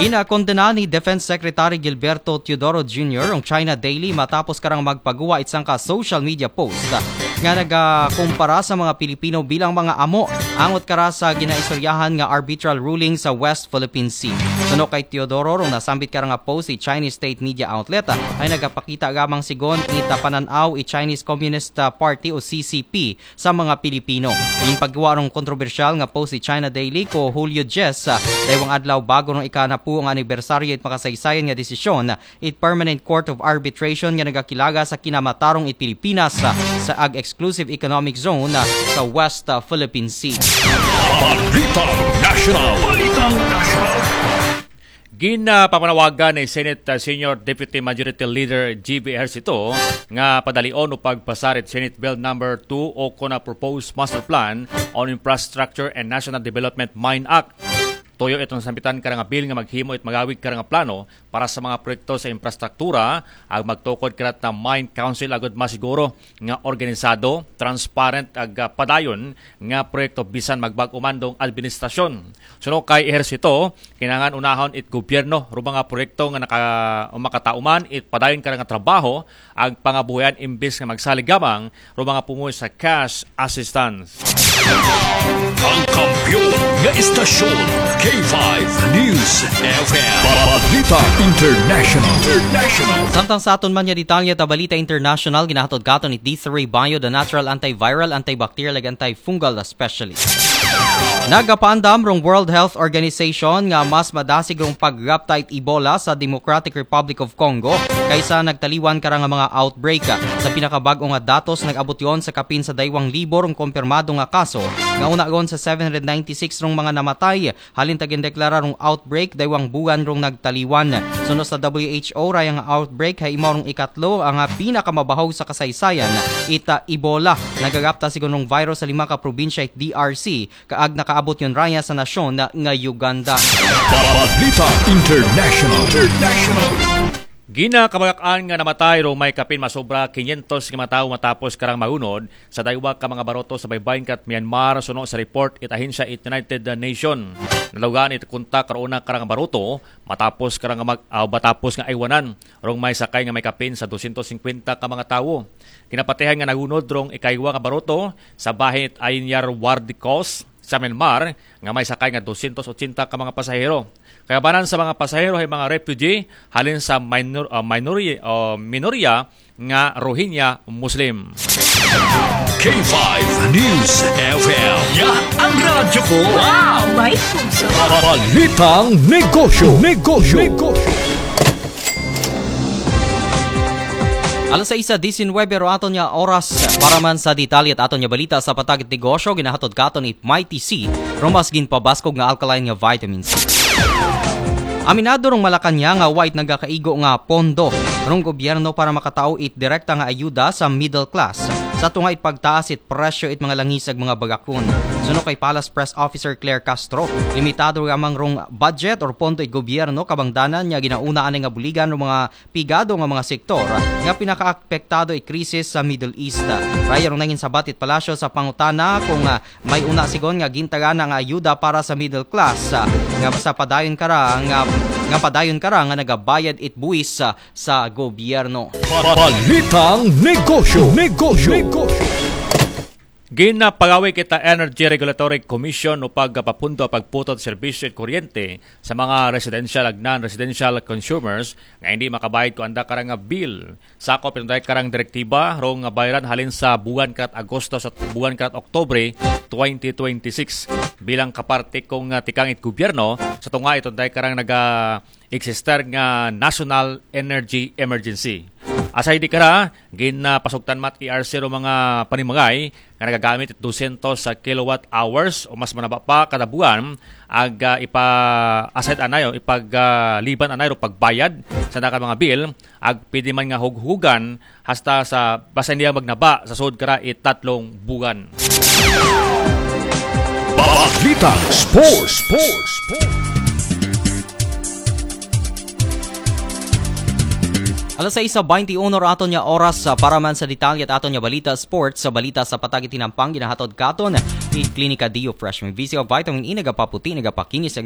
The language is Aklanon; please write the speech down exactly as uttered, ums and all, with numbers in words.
Ginakondena ni Defense Secretary Gilberto Teodoro Junior ang China Daily matapos karang magpaguwa it sangka social media post nga nagakumpara sa mga Pilipino bilang mga amo angot kara sa ginaistoryahan nga arbitral ruling sa West Philippine Sea. Suno kay Teodoro, rong nasambit kara nga post sa Chinese state media outlet, ay nagapakita gamang sigon it panan-aw it Chinese Communist Party o C C P sa mga Pilipino. Ginpaguwa rong kontrobersyal nga post sa China Daily ko Hulyo diyes, ah, daywang adlaw bago rong ikanapulo nga anibersaryo it makasaysayan nga desisyon it Permanent Court of Arbitration nga nagakilaga sa kinamatarong it Pilipinas, ah, sa ag exclusive economic zone, ah, sa West, ah, Philippine Sea. Balitang National. Balitang National. Ginapamanawagan ni Senate, uh, Senior Deputy Majority Leader G B Ejercito nga padalion o pagpasar it Senate Bill number two o kuna Proposed Master Plan on Infrastructure and National Development, MIND Act. Tuyo iton sambitan kara nga bill nga maghimo it magawig kara nga plano para sa mga proyekto sa infrastruktura, ag magtukod kara na MIND Council agud masiguro nga organisado, transparent ag, ah, padayon nga proyekto bisan magbag-o man dong administrasyon. Suno kay Ejercito, kinahanglan unahon it gobyerno rong mga proyekto nga naka, o makatao man it padayon kara nga trabaho, ag pangabuhian imbes nga magsalig gamang rong mga pumuyo sa cash assistance. Ang kampiyon nga istasyon, K five News F M. Balita International. International. Samtang sa aton man nga detalye ta balita international, ginahatod katon it D three Bio, the natural antiviral, antibacterial, ag antifungal specialist. Nagapaandam rong World Health Organization nga mas madasig rong pagrapta it Ebola sa Democratic Republic of Congo kaysa nagtaliwan kara nga mga outbreak. Sa pinakabag-o nga datos, nag-abot yon sa kapin sa daywang libo rong kompirmado nga kaso, nga una gon sa seven hundred ninety-six rong mga namatay halin ta gindeklara rong outbreak daywang buwan rong nagtaliwan. Suno sa W H O, raya nga outbreak hay imo rong ikatlo nga pinakamabahog sa kasaysayan it, ah, Ebola. Nagarapta sigon rong virus sa lima ka probinsya it D R C, kaag nakaabot yon raya sa nasyon nga Uganda. Balita International. International. Ginakabag-an nga namatay rong may kapin masobra kinyentos nga mga tawo matapos karang maunod sa daywa ka mga baruto sa baybayon kat Myanmar, suno sa report it ahensya it United Nation. Nalugaan it kontak rong una karang baruto matapos karang mag, ah, matapos nga aywanan rong may sakay nga may kapin sa dosyentos singkwenta ka mga tawo. Kinapatihan nga naunod rong ikaywa nga baruto sa bahin it Ainyar Wardikos sa Myanmar nga may sakay nga dosyentos otsenta ka mga pasahero. Kalabanan sa mga pasahero hay mga refugee halin sa minor, ah, minori-, ah, minorya nga Rohingya Muslim. K five News F M. Yan ang radyo ko. Wow! May puso. Balitang negosyo. Negosyo. Alas sais disinwebe rong aton nga oras para man sa detalye it aton nga balita sa patag it negosyo, ginahatod katon it Mighty C, rong mas ginpabaskog nga alkaline nga vitamin C. Aminado rong Malacañang nga wa it nagakaigo nga pondo rong gobyerno para makatao it direkta nga ayuda sa middle class sa tunga it pagtaas it presyo it mga langis ag mga bagakon. Suno kay Palace Press Officer Claire Castro, limitado lamang rong budget or pondo it gobyerno kabangdanan nga ginauna anay nga buligan rong mga pigado nga mga sektor nga pinakaapektado it krisis sa Middle East. Raya rong nangin sabat it palasyo sa pangutana kung, ah, may una sigon nga gintagana nga ayuda para sa middle class, ah, nga sa padayon kara nga, nga padayon kara nga nagabayad it buwis, ah, sa gobyerno. Balitang negosyo. Negosyo. Negosyo. Ginapagawi kita Energy Regulatory Commission o pagpapundo pagputol serbisyo at kuryente sa mga residential ag non-residential consumers nga hindi makabayad ko anda karang nga bill. Sakop iton day karang direktiba rong nga bayran halin sa buwan karat Agosto sa buwan karat Oktubre twenty twenty-six bilang kaparte kong, ah, tikang it gobyerno sa tunga iton day karang naga existe nga National Energy Emergency. Asay di kara, ginapasugtan mat E R C rong mga panimangay nga nagagamit dosyentos sa kilowatt hours o mas manaba pa kada buwan, ag, ah, ipa-aside anay o ipag, ah, liban anay rong pagbayad sa naka mga bill, ag pwede man nga hughugan hasta sa basta hindi magnaba sa sud kara it tatlong buwan. Balita Sports. Sports. Alas sais sa baynte uno ra aton nga oras, ah, para man sa detalye it aton nga balita sports. Sa balita sa patag it tinampang ginahatod katon it Klinika Dio Fresh. May V C O vitamin E, nagapaputi, nagapakinis,